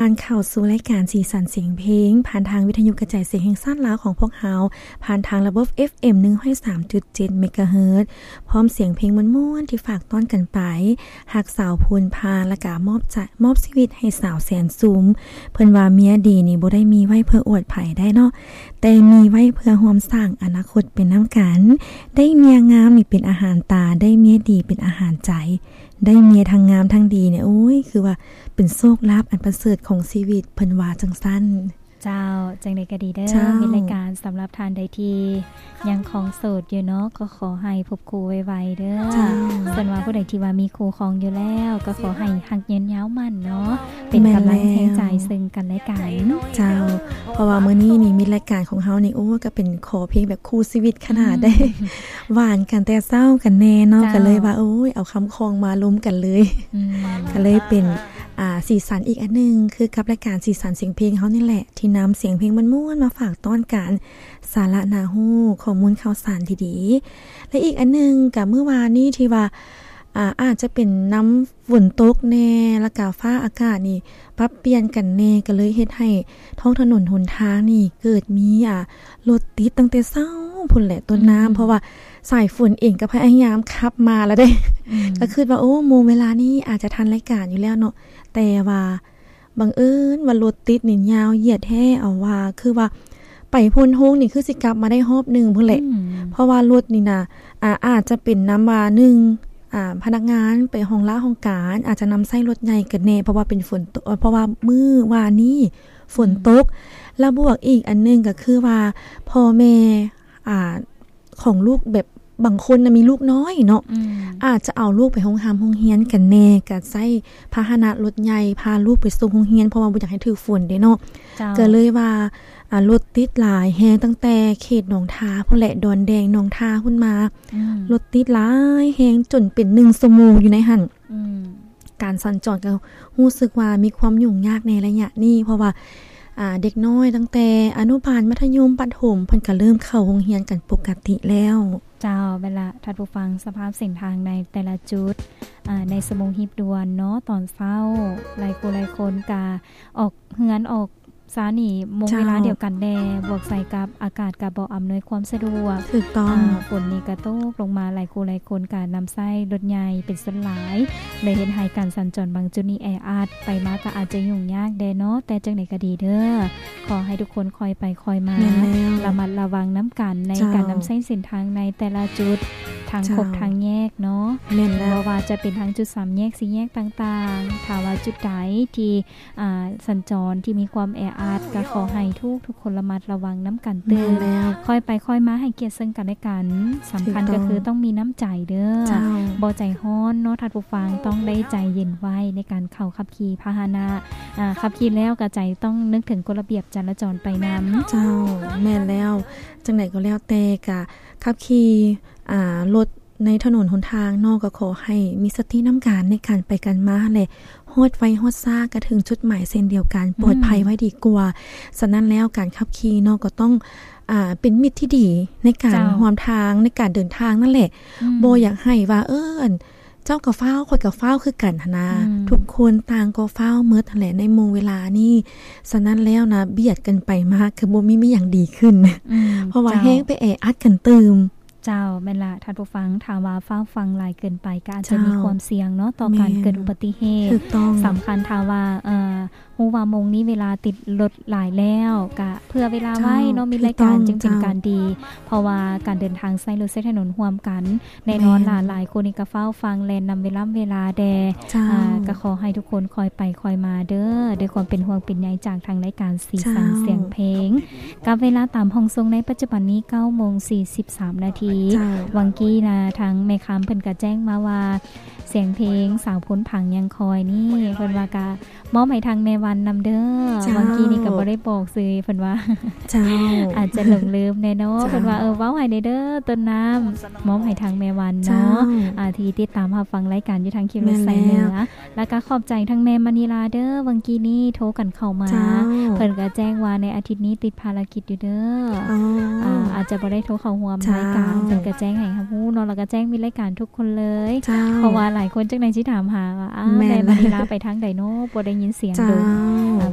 ທ່ານເຂົ້າສູ່ລາຍການສີສັນສຽງເພງ ຜ່ານທາງວິທະຍຸກະຈາຍສຽງແຫ່ງຊາດລາວຂອງພວກເຮົາ ຜ່ານທາງລະບົບ ເອັຟເອັມ ໜຶ່ງຮ້ອຍສາມຈຸດເຈັດ ເມກາເຮີດ ພ້ອມສຽງເພງມ່ວນໆທີ່ຝາກຕ້ອນກັນໄປ, ຮັກສາວພູນພາ ແລ້ວກະມອບຈະ ມອບຊີວິດໃຫ້ສາວແສນຊຸມ. ເພິ່ນວ່າເມຍດີນີ້ບໍ່ໄດ້ມີໄວ້ເພື່ອອວດໃຜໄດ້ເນາະ, ແຕ່ມີໄວ້ເພື່ອຮ່ວມສ້າງອະນາຄົດໄປນຳກັນ. ໄດ້ເມຍງາມນີ້ເປັນອາຫານຕາ, ໄດ້ເມຍດີເປັນອາຫານໃຈ. ໄດ້ເມຍທັງງາມທັງດີນີ້ ໂອ້ຍ ຄືວ່າເປັນໂຊກລາບອັນປະເສີດຂອງຊີວິດ, ເພິ່ນວ່າຈັ່ງຊັ້ນ. ເຈົ້າ, ຈັ່ງໃດກໍດີເດີ ເຈົ້າ ມິດລາຍການ, ສຳລັບທ່ານໃດທີ່ຍັງຄອງໂສດຢູ່ເນາະ ກໍຂໍໃຫ້ພົບຄູ່ໄວໆເດີ. ເຈົ້າ, ສ່ວນວ່າຜູ້ໃດທີ່ວ່າມີຄູ່ຄອງຢູ່ແລ້ວ ກໍຂໍໃຫ້ຮັກຍືນຍາວໝັ້ນເນາະ, ເປັນກຳລັງແຮງໃຈເຊິ່ງກັນແລະກັນ. ເຈົ້າ, ເພາະວ່າມື້ນີ້ນີ້ ມິດລາຍການຂອງເຮົານີ້ ໂອ້ ກໍເປັນຂໍເພງແບບຄູ່ຊີວິດຂະໜາດໃດ. ອືມ ຫວານກັນແຕ່ເຊົ້າກັນແນ່ເນາະ, ເຈົ້າ ກໍເລີຍວ່າ ໂອ້ຍ ເອົາຄຳຄອງມາລົມກັນເລີຍ. ອືມ ກໍເລີຍເປັນ ອ່າ ສີສັນອີກອັນໜຶ່ງ ຄືກັບລາຍການສີສັນສຽງເພງເຮົານີ້ແຫຼະ ທີ່ນຳສຽງເພງມ່ວນໆມາຝາກຕ້ອນກັນ, ສາລະໜ້າຮູ້, ຂໍ້ມູນຂ່າວສານດີໆ. ແລະ ອີກອັນໜຶ່ງ ກໍມື້ວານນີ້ທີ່ວ່າ ອ່າ ອາດຈະເປັນນຳຝົນຕົກແນ່ ແລ້ວກະຟ້າອາກາດນີ້ປັບປ່ຽນກັນແນ່ ກໍເລີຍເຮັດໃຫ້ທ້ອງຖະໜົນຫົນທາງນີ້ເກີດມີ ອ່າ ລົດຕິດຕັ້ງແຕ່ເຊົ້າພຸ້ນແຫຼະຕົ້ນນ້ຳ. ອືມ ເພາະວ່າສາຍຝົນເອງກໍພະຍາຍາມຂັບມາແລ້ວເດ້. ອືມ ກໍຄິດວ່າ ໂອ້ ໂມງເວລານີ້ອາດຈະທັນລາຍການຢູ່ແລ້ວເນາະ, ແຕ່ວ່າບັງເອີນວ່າລົດຕິດນີ້ຍາວຢຽດແທ້ ເອົາວ່າ ຄືວ່າໄປໂພນໂຮງນີ້ຄືຊິກັບມາໄດ້ຮອບໜຶ່ງພຸ້ນແຫຼະ. ອືມ ເພາະວ່າລົດນີ້ນະ ອາ ອາດຈະເປັນນຳວ່າ ໜຶ່ງ ອາ ພະນັກງານໄປຫ້ອງລາຫ້ອງການ ອາດຈະນຳໃຊ້ລົດໃຫຍ່ກັນແນ່ ເພາະວ່າເປັນຝົນຕົກ ເພາະວ່າມື້ວານນີ້ຝົນຕົກ. ອືມ ແລ້ວບວກອີກອັນໜຶ່ງກໍຄືວ່າ ພໍ່ແມ່ ອາ ຂອງລູກ ແບບບາງຄົນນະມີລູກນ້ອຍເນາະ, ອືມ ອາດຈະເອົາລູກໄປໂຮງຮ່ຳໂຮງຮຽນກັນແນ່ ກໍໃຊ້ພາຫະນະລົດໃຫຍ່ພາລູກໄປສົ່ງໂຮງຮຽນ ເພາະວ່າບໍ່ຢາກໃຫ້ຖືກຝົນເດ້ເນາະ. ເຈົ້າ ກໍເລີຍວ່າ ອາ ລົດຕິດຫຼາຍແຮງ ຕັ້ງແຕ່ເຂດໜອງທາພຸ້ນແຫຼະ, ດອນແດງ ໜອງທາພຸ້ນມາ. ອືມ ລົດຕິດຫຼາຍແຮງຈົນເປັນໜຶ່ງຊົ່ວໂມງຢູ່ໃນຫັ້ນ. ອືມ ການສັນຈອນກໍຮູ້ສຶກວ່າມີຄວາມຫຍຸ້ງຍາກໃນໄລຍະນີ້ ເພາະວ່າ ອ່າ ເດັກນ້ອຍຕັ້ງແຕ່ອະນຸບານ ມັດທະຍົມ ປະຖົມ ເພິ່ນກໍເລີ່ມເຂົ້າໂຮງຮຽນກັນປົກກະຕິແລ້ວ. ເຈົ້າ, ແມ່ນລະ ທ່ານຜູ້ຟັງ, ສະພາບເສັ້ນທາງໃນແຕ່ລະຈຸດ ອາ ໃນຊົ່ວໂມງຮີບດ່ວນເນາະ ຕອນເຊົ້າ ຫຼາຍຄູ່ຫຼາຍຄົນກະອອກເຮືອນອອກຊານນີ້ ໂມງເວລາດຽວກັນແດ່ ເຈົ້າ ບວກໃສ່ກັບອາກາດກະບໍ່ອຳນວຍຄວາມສະດວກ. ຖືກຕ້ອງ. ອາ ຝົນນີ້ກະຕົກລົງມາ ຫຼາຍຄູ່ຫຼາຍຄົນກະນຳໃຊ້ລົດໃຫຍ່ເປັນສ່ວນຫຼາຍ ເລີຍເຮັດໃຫ້ການສັນຈອນບາງຈຸດນີ້ແອອັດ, ໄປມາກະອາດຈະຫຍຸ້ງຍາກແດ່ເນາະ. ແຕ່ຈັ່ງໃດກະດີເດີ ຂໍໃຫ້ທຸກຄົນຄ່ອຍໄປຄ່ອຍມາ, ແມ່ນແລ້ວ ລະມັດລະວັງນຳກັນໃນ ເຈົ້າ ການນຳໃຊ້ເສັ້ນທາງໃນແຕ່ລະຈຸດ ທາງຄົບ ເຈົ້າ ທາງແຍກເນາະ. ແມ່ນແລ້ວ. ບໍ່ວ່າຈະເປັນທາງຈຸດສາມແຍກ ສີ່ແຍກຕ່າງໆ, ຖ້າວ່າຈຸດໃດທີ່ ອ່າ ສັນຈອນທີ່ມີຄວາມແອອັດ ກໍຂໍໃຫ້ທຸກໆຄົນລະມັດລະວັງນຳກັນຕື່ມ. ແມ່ນແລ້ວ. ຄ່ອຍໄປຄ່ອຍມາ ໃຫ້ກຽດເຊິ່ງກັນແລະກັນ. ສຳຄັນກໍຄືຕ້ອງມີນ້ຳໃຈເດີ. ເຈົ້າ. ບໍ່ໃຈຮ້ອນເນາະທ່ານຜູ້ຟັງ, ຕ້ອງໄດ້ໃຈເຢັນໄວໃນການເຂົ້າຂັບຂີ່ພາຫະນະ. ອ່າ ຂັບຂີ່ແລ້ວກໍໃຈຕ້ອງນຶກເຖິງກົດລະບຽບຈະລາຈອນໄປນຳ. ເຈົ້າ, ແມ່ນແລ້ວ. ຈັ່ງໃດກໍແລ້ວແຕ່ ກະຂັບຂີ່ ອ່າ ລົດ ໃນຖະໜົນຫົນທາງເນາະ ກໍຂໍໃຫ້ມີສະຕິນຳກັນໃນການໄປກັນມາຫັ້ນແຫຼະ, ຮອດໄວຮອດຊ້າກໍເຖິງຈຸດໝາຍເຊັ່ນດຽວກັນ, ອືມ ປອດໄພໄວ້ດີກວ່າ. ສະນັ້ນແລ້ວ ການຂັບຂີ່ເນາະ ກໍຕ້ອງ ອ່າ ເປັນມິດທີ່ດີໃນການ ເຈົ້າ ຮ່ວມທາງ ໃນການເດີນທາງນັ້ນແຫຼະ. ອືມ ບໍ່ຢາກໃຫ້ວ່າ ເອີ ອັນ ເຈົ້າກໍຟ້າວ ຂ້ອຍກໍຟ້າວຄືກັນຫັ້ນນາ. ອືມ ທຸກຄົນຕ່າງກໍຟ້າວໝົດຫັ້ນແຫຼະໃນໂມງເວລານີ້. ສະນັ້ນແລ້ວນະ ບຽດກັນໄປມາ ກໍບໍ່ມີ ມີຫຍັງດີຂຶ້ນ. ອືມ ເພາະວ່າ ເຈົ້າ ແຮ່ງໄປແອອັດກັນຕື່ມ. ເຈົ້າ, ແມ່ນລະທ່ານຜູ້ຟັງ, ຖ້າວ່າຟ້າວຟັ່ງຫຼາຍເກີນໄປ ກໍອາດຈະມີ ເຈົ້າ ຄວາມສ່ຽງເນາະ ຕໍ່ການ ແມ່ນ ເກີດອຸບັດຕິເຫດ. ຖືກຕ້ອງ. ສຳຄັນຖ້າວ່າ ເອີ ຮູ້ວ່າໂມງນີ້ເວລາຕິດລົດຫຼາຍແລ້ວ ກະເຜື່ອເວລາໄວ້ເນາະ ເຈົ້າ ມີລາຍການ ຖືກຕ້ອງ ຈຶ່ງເປັນ ເຈົ້າ ການດີ, ເພາະວ່າການເດີນທາງໃຊ້ລົດໃຊ້ຖະໜົນຮ່ວມກັນ ແນ່ນອນລະ ແມ່ນ ຫຼາຍໆຄົນນີ້ກໍຟ້າວຟັ່ງແລ່ນນຳເວລາເວລາແດ່. ເຈົ້າ. ອ່າ ກໍຂໍໃຫ້ທຸກຄົນຄ່ອຍໄປຄ່ອຍມາເດີ ດ້ວຍຄວາມເປັນຫ່ວງເປັນໃຍຈາກທາງລາຍການ ສີສັນ ເຈົ້າ ສຽງເພງ. ກັບເວລາຕາມຫ້ອງສົ່ງໃນປັດຈຸບັນນີ້ ເກົ້າໂມງສີ່ສິບສາມນາທີ. ເຈົ້າ. ຫວ່າງກີ້ນະ ທາງແມ່ຄຳເພິ່ນກະແຈ້ງມາວ່າ ສຽງເພງສາວໂພນຜັງຍັງຄອຍນີ້ ເພິ່ນວ່າກະມອບໃຫ້ທາງແມ່ວັນນຳເດີ. ເຈົ້າ. ຫວ່າງກີ້ນີ້ກະບໍ່ໄດ້ບອກຊື່ເພິ່ນວ່າ. ເຈົ້າ. ອາດຈະຫຼົງລືມແດ່ເນາະ. ເຈົ້າ. ເພິ່ນວ່າ ເອີ ເວົ້າໃຫ້ແດ່ເດີ ຕົ້ນນ້ຳ ມອບໃຫ້ທາງແມ່ວັນເນາະ. ເຈົ້າ. ອາ ທີ່ຕິດຕາມຮັບຟັງລາຍການຢູ່ທາງເຂດ ແມ່ນແລ້ວ ໄຊເໜືອ. ແລ້ວກະຂອບໃຈທາງແມ່ມະນີລາເດີ ຫວ່າງກີ້ນີ້ໂທກັນເຂົ້າມາ. ເຈົ້າ. ເພິ່ນກະແຈ້ງວ່າໃນອາທິດນີ້ຕິດພາລະກິດຢູ່ເດີ. ອໍ. ອາ ອາດຈະບໍ່ໄດ້ໂທເຂົ້າຮ່ວມ ເຈົ້າ ລາຍການ ເພິ່ນກໍແຈ້ງໃຫ້ຮັບຮູ້ເນາະ ແລ້ວກໍແຈ້ງມິດລາຍການທຸກຄົນເລີຍ ເຈົ້າ ເພາະວ່າຫຼາຍຄົນຈັກໜ່ອຍຊິຖາມຫາວ່າ ອ້າວ ແມ່ນ ແມ່ມະນີລາໄປທາງໃດເນາະ ບໍ່ໄດ້ຍິນສຽງດົນ ເຈົ້າ ອ່າ